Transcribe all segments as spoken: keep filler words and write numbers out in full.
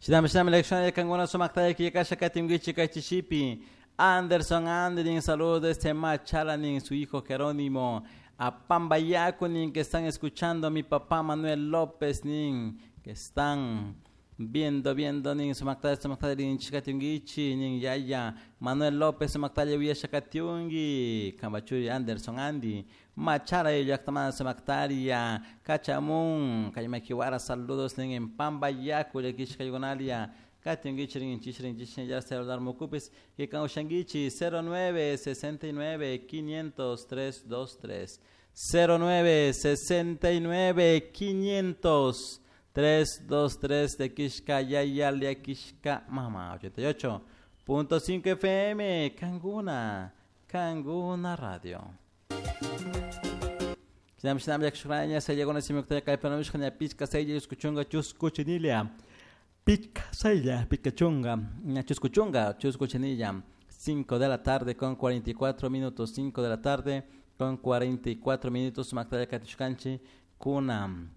Shinami shinami lección kanguna sumaktaya killkasha katinkichik kay chishipi. Anderson Andrin, saludos desde Machala, nin su hijo Jerónimo. A Pambayaco, nin que están escuchando a mi papá Manuel López, nin que están viendo, viendo, nin sumaktaya, sumaktaya, nin chikatingichi, nin yaya. Manuel López, sumaktaya, uyashakatiungi. Kambachuri, Anderson Andy. Machala, llaktamanta sumaktaria. Kachamun, Kaymakiwara, saludos, nin en Pambayaco, llakishkaykunalia. Katingichi, rin chichi, rin chichi, ya celular mukupis, que kaushangichi, cero nueve sesenta y nueve quinientos tres dos tres. cero nueve sesenta y nueve quinientos tres dos tres de Kishka Yaya Kishka Mama ochenta y ocho punto cinco F M Kanguna, Kanguna Radio. Sinam sinam yakshukraña se llegó nacimiento de Kaipanushka Pichka Seyya Escuchunga Chuscuchinilia Pichka Seyya Pichkachunga Chuscuchunga Chuscuchinilla. Cinco de la tarde con cuarenta y cuatro minutos, cinco de la tarde con cuarenta y cuatro minutos, Mactaya Katishkanchi, Kuna.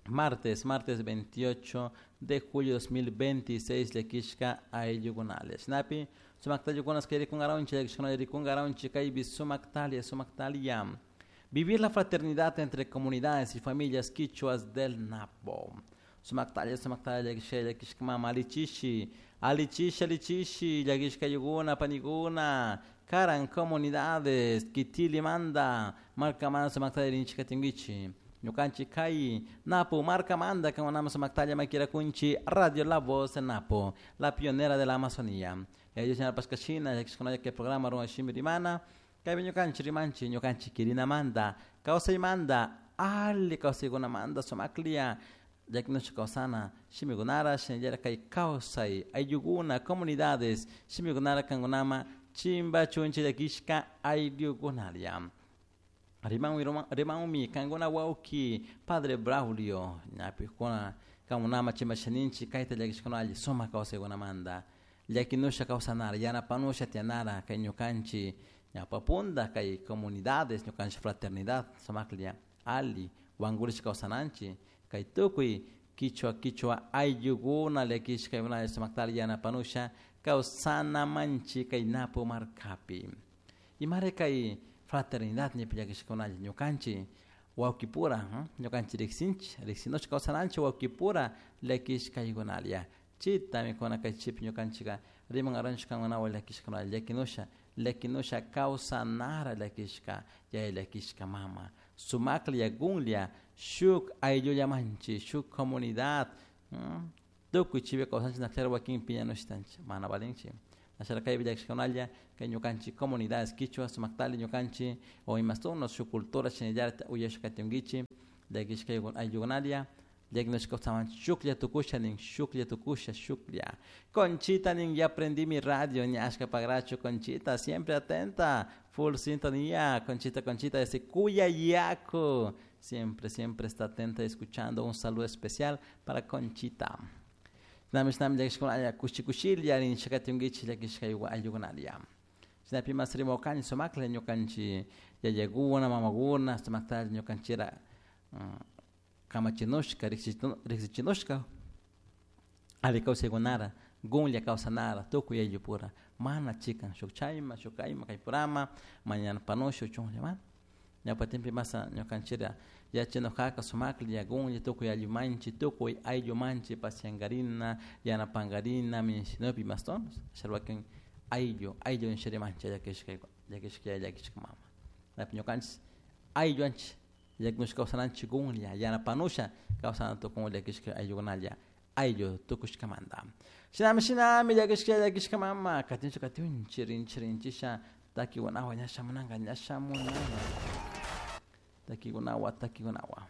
Martes, martes veintiocho de julio dos mil veintiséis, Lekishka Ayugunales. Napi, Sumaktalia Yugunas, Kerikungaronchi, Lekishkana Yerikungaronchi, Kaibi, Sumaktalia, Sumaktalia. Vivir la fraternidad entre comunidades y familias quichuas del Napo. Sumaktalia, Sumaktalia, Lekishka, Lekishka, Mama, Alichishi, Alichishi, Alichishi, Lekishka Yuguna, Paniguna, Karan, comunidades, Kitili Manda, Marca Manda, Sumaktalia, Rinchika Tinguichi. Ñukanchik kay Napo, Marca Manda, Kamanama Sumaktalia, Maquira Kunchi, Radio La Voz de Napo, la pionera de la Amazonía. Ellos en la Pascachina, ya que se conoce que el programa Roma Shimirimana, kay ñukanchik rimanchi, ñukanchik kirina manda, kawsay manda, ali kawsaykuna manda, sumaklia, ya que nuestra kawsana, shimigunara, shinayara kay kawsay, ayllukuna, comunidades, shimigunara kangunama, chimba chunchi yakishka ayllukunaria. Rimanmi, rimanmi, kanguna wauki, Padre Braulio, ñapi kuna, kangunama chimba shaninchi, kayta llakishkuna alli, suma kawsaykuna manda, llakinusha kawsanara, yanapanusha tianara, kay ñukanchi, ñapapunda, kay comunidades, ñukanchi fraternidad, sumaklia, alli, wankurish kawsananchi, kay tukuy, kichwa, kichwa, ayllukuna, llakishkaykuna, sumaktal yanapanusha, kawsanamanchi, kay Napo markapi. Imare kay fraternidad ñapi llakishkakunalla, ñukanchi wawkipura, ¿eh? Ñukanchi riksinchi, riksinushka kawsananchi wawkipura llakishkaykunalia. Chita mikuna kay chipi ñukanchika riman aranchik kankunawan llakishkakunalla, llakinusha, llakinusha kawsanara llakishka, yaya llakishka mama. Sumaklla, gunlla, shuk ayllullamanchi, shuk comunidad, ¿eh? Tukuy chipi kawsanchik nakchara wakin piñanushtanchik, mana valinchik. Nasharakaypi llakishkakunalla, kay ñukanchik comunidades quichua, sumaktali ñukanchik, o imastuno, su cultura shinallarta uyashkatinkichik, llakishkaygun ayllukunalia, llakinushka kawsamanchik, shuklla tukusha nin, shuklla tukusha, shuklla. Conchita nin, ya prendí mi radio, ñashka pagracho, Conchita, siempre atenta, full sintonía, Conchita, Conchita, desde Cuyayaco, siempre, siempre está atenta escuchando. Un saludo especial para Conchita. Nami, nami, llakishkunalla, kushi kushilla, nin, shakatinkichik, llakishkaywan ayllukunalia. Shinapi mas rimawkani sumakla ñukanchik yayakuna, mamakuna, sumakta ñukanchira, mm, kamachinushka, riksichinushka, alli kawsaykunara, gunlla kawsanara, tukuy ayllupura, mana chikan, shuk chayma, shuk kayma, kaypurama, mañana panushu, chunlla, mana. Ñawpatimpi masa ñukanchira yachinukaka sumaklla, gunlla, tukuy ayllumanchik, tukuy ayllumanchik, pasiankarina, yanapankarina, minshinupi mas tonos, sharwakin ayllu, ayllu nisharimanchik, llakishka, llakishka, llakishka mama. Ñapi ñukanchik aylluanchik, llakinushka kawsananchik gunlla, yanapanusha kawsana tukun llakishka ayllukunalla, ayllu tukushkamanta. Shinami, shinami, llakishka, llakishka mama, katincha, katinchi, rinchi, rinchisha, takikunawa, ña shamunanka, ña shamunanka. Takikunawa, takikunawa.